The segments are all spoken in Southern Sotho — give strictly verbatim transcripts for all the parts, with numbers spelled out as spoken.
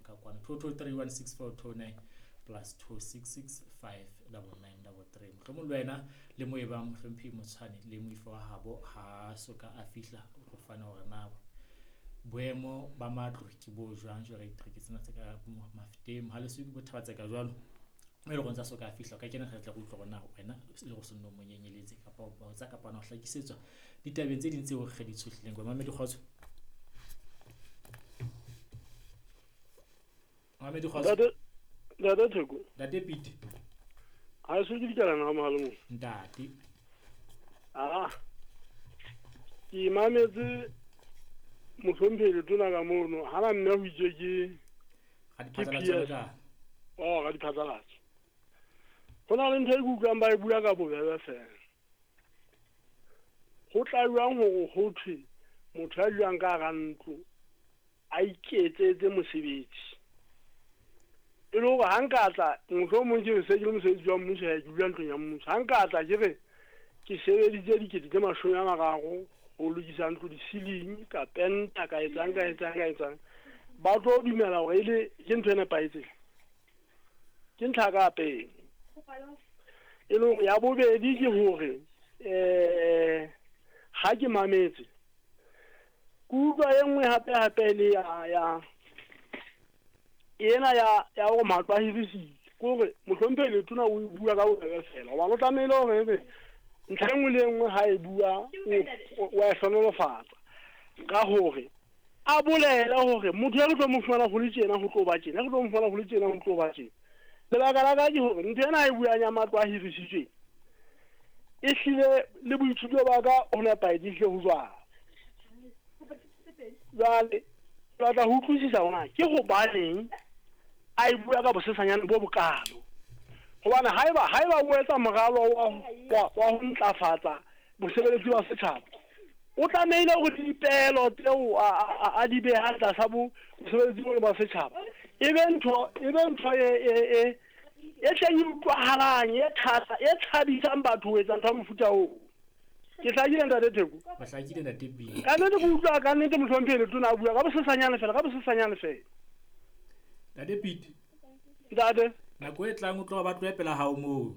ka kwana. Two two three one six four two nine plus two six six five double nine double three. Mohlomong le wena le mo e bang mohlomphehi Motshwane le moifo wa habo ha so ka a fihla o tlo fana hore na boemo ba matlo ke bo jwang jwale ditereke tsena tse ka Mafeteng ha le so ke bo Thabatseka jwalo. Mme e le gore ntse a so ka fihla o ka kena re tla re utlwa hore na wena le go se nno mo nyenyeletse kapa o botsa kapa na o hlakisetswa ditabeng tse ding tseo re di tshohlileng. Mamedi kgotso. Mamedi kgotso. Ntate, Ntate Theko. Ntate Pete. Ha se ke dikalana ha mohale mo. Ntate. Ah. Ke mametse mohlomphehi letona ka mono, ha na nna ho itse ke Ga diphatlalatso ka. Oh, ga diphatlalatso. Ho na le ntho e ke utlwang ba e bua ka bobebe fela. Ho tla jwang hore ho thwe motho ya dulang ka hara ntlo a iketsetse mosebetsi? E le hore ha nka tla mohlomong ke re se ke le mosebetsi wa mmuso, ke dula ntlong ya mmuso. Ha nka tla ke re ke sebeditse dikete tse mashome a mararo ho lokisa ntlo di-ceiling, ka penta, ka etsang, ka etsang, ka etsang. Ba tlo dumela hore e le ke ntho e nepahetseng. Ke ntlha ka pele. E le hore ya bobedi ke hore eh ha ke mametse ke utlwa e nngwe hape hape le ya ya ena ya ya hore matlo a hirisitswe. Ke hore mohlomphehi letona o e bua ka bobebe fela hobane o tlamehile hore ebe ntlha e nngwe le e nngwe ha e bua o wa e hlohonolofatsa ka hore a bolele hore motho ya re tlo mo fumana ho le tjena ho tlo ba tjena, re tlo mo fumana ho le tjena ho tlo ba tjena. Lebaka la ka ke hore ntho ena e buang ya matlo a hirisitsweng e hlile le boithuto ba ka ho nepahetse ehlile ho jwalo. Jwale ke batla ho utlwisisa hore na ke hobaneng a e bua ka bosesanyane bo bokalo. Hobane haeba haeba o etsa moralo wa wa wa ho ntlafatsa bosebeletsi ba setjhaba, o tlamehile hore dipehelo tseo a a a di behang tlasa bo bosebeletsi bona ba setjhaba e be ntho e be ntho e e e e hleng e utlwahalang, e thata, e thabisang batho ho etsa ntho ya mofuta oo. Ke hlakile Ntate Theko? Ba hlakile Ntate Pete. Ka nnete ke utlwa ka nnete mohlomphehi letona a bua ka bosesanyane fela, ka bosesanyane fela. Ntate Pete. Ntate. Nako e tlang o tloha ba tlohe pela hao moo.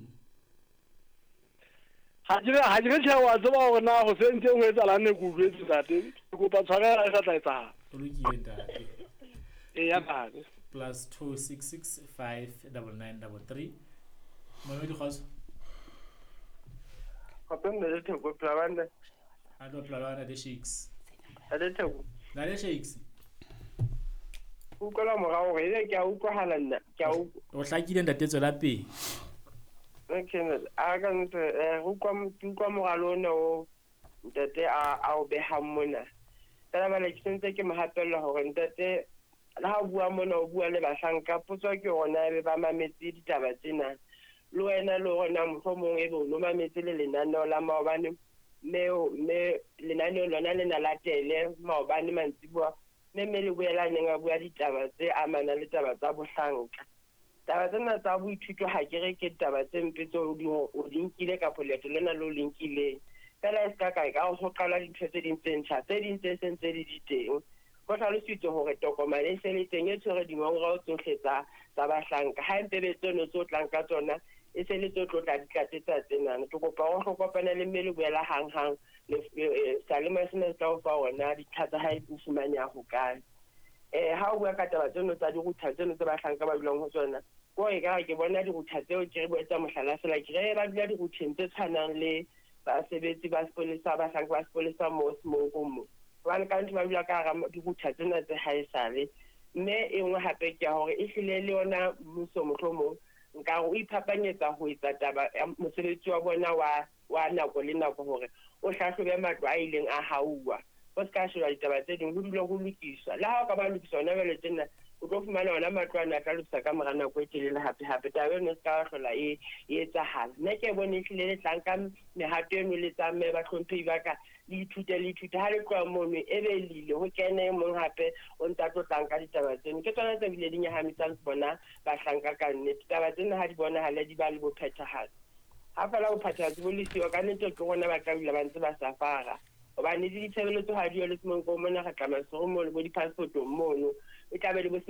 Ha ke re ha ke re tjhe wa tseba hore na ho se ntse ho etsahalang ne ke utlwetse ntate. Ke kopa tshwarelo ha e sa tla etsahala. O lokile ntate. Eya ntate. Plus two six six five double nine double three. Mamedi kgotso. Gape Ntate Theko, phela bana. A tlo phela bana Ntate Shakes. Ntate Theko. Ntate Shakes. Utlwela morao hore ebe ke a utlwahala nna, ke a utlwa. O hlakile ntate, tswela pele. Okay, a ka ntse eh utlwa ke utlwa moralo ona o ntate a a o behang mona. Fela bana ke sentse ke mo hapella hore ntate le ha o bua mona o bua le bahlanka, potso ke hore na ebe ba mametse ditaba tsena. Le wena le hore na mohlomong ebe o no mametse le lenaneo la maobane, mme mme lenaneo lona lena latele maobane mantsiboa, mme mme le boela neng a bua ditaba tse amanang le taba tsa bohlanka. Taba tsena tsa boithuto ha ke re ke taba tse mpe tseo di o di nkile kapa leeto lena le o le nkileng. Fela e ska ka ka ho qala dintho tse ding tse ntjha, tse ding tse seng tse di di teng. Ho hlalositswe hore tokomane e se le teng e tshwere dingongorao tsohle tsa tsa bahlanka. Ha empe be tseno tse o tlang ka tsona e se le tse tlo tla di tlatsetsa tsenana. Ke kopa hore o kopane le mme le boela hanghang le seyalemoya sena se tla o fa hona dintlha tsa hae di fumaneha hokae. Eh ha o bua ka taba tseno tsa di-router tseno tse bahlanka ba dulang ho tsona, ko ekare ke bona di-router tseo ke re bo etsa mohlala fela, ke re ba dula di-router-eng tse tshwanang le basebetsi ba sepolesa, bahlanka ba sepolesa mo Semonkong mo. Hobane ka ntho ba dula ka hara di-router tsena tse haesale. Mme e nngwe hape ke ya hore ehlile le yona mmuso mohlomong nkare o iphapanyetsa ho etsa taba ya mosebetsi wa bona wa wa nako le nako hore o hlahlobe matlo a ileng a hauwa. Ho ska sheba ditaba tse ding, ho dule ho lokiswa. Le ha o ka ba lokisa hona jwale tjena, o tlo fumana hona matlo ana a tla lokiswa ka mora nako e telele hape hape. Taba eno e ska hlola e e etsahala. Nna ke bone ehlile le tlang ka mehato eno le tsamaye bahlomphehi ba ka, le ithute le ithute. Ha le tloha mono e be lile ho kene e mong hape o ntsa tlo tlang ka ditaba tseno. Ke tsona tse bile di nyahamisang bona bahlanka ka nnete. Taba tsena ha di bonahale di ba le bophethahatsi. Ha fela bophethahatsi bo le siyo, ka nnete ke rona ba tla dula ba ntse ba safara. Hobane le ditshebeletso ha di yo le Semonkong mona, re tla Maseru mono, bo di-passport-ong mono. E tla be le bo